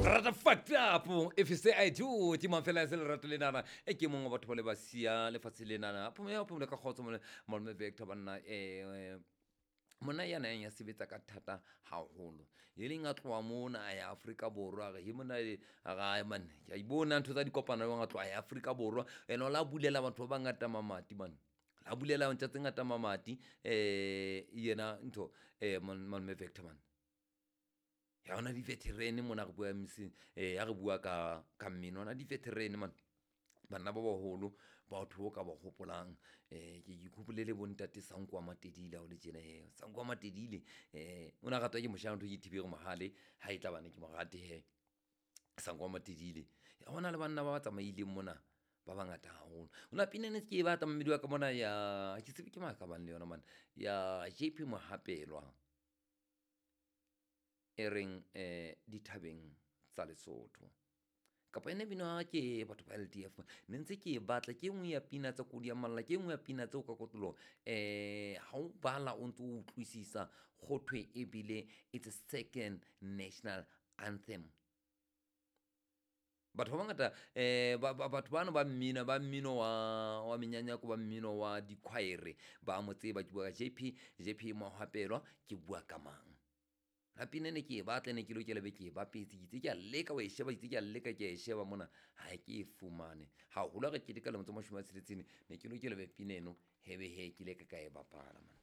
Rata fucked up if you say I do. Ke mang fela se lerato lenana e ke mongwe wa batho ba le ba sia lefatshe lenana. Phomole phomole ka kgotso mole malome Victor banna monna ya nang ya sebetsa ka thata haholo. E leng a tloha mona a ya Afrika Borwa a re he monna a re ae man ke a ibona ntho tsa dikopano jwang a tloha a ya Afrika Borwa ene o la bulela batho ba bangata mamati man. La bulela ntja tse ngata mamati yena ntho malome Victor man. Ya ona di-veteran mona re bua mc ya re bua ka ka mmino ona di-veteran man. Banna ba baholo batho o ka ba hopolang ke ikhopole le bontate Sanko wa Matedile ha o le tjena he Sanko wa Matedile o na ratwa ke moshana ntho ke Thiberi Mohale ha e tla bane ke mo rate he Sanko wa Matedile. Hona le banna ba ba tsamaileng mona ba bangata haholo. Hona pina ene ke e batla mmedi wa ka mona ya ke tsebe ke mang ka bang le yona man ya JP Mohapelwa e reng dithabeng tsa Lesotho. Kapa ene bina ke batho ba LDF ne ntse ke e batla ke e nngwe ya pina tsa kodi ya malla ke e nngwe ya pina tseo ka kotloloho ha o bala o ntso utlwisisa go thwe ebile it's a second national anthem. Batho ba bangata batho bano ba mmino ba mmino wa menyanyako ba mmino wa dikhwaere ba mo tseba. Ke bua ka JP JP Mohapelwa ke bua ka mang. La pina ne ke e batla ne ke lokela be ke e bapetse ke itse ke a leka ho e sheba itse ke a leka ke a e sheba mona ha ke e fumane. Haholo ha re keteka lemo tse 60 ne ke lokela be pina eno hebe he ke ile ka ka e bapala man.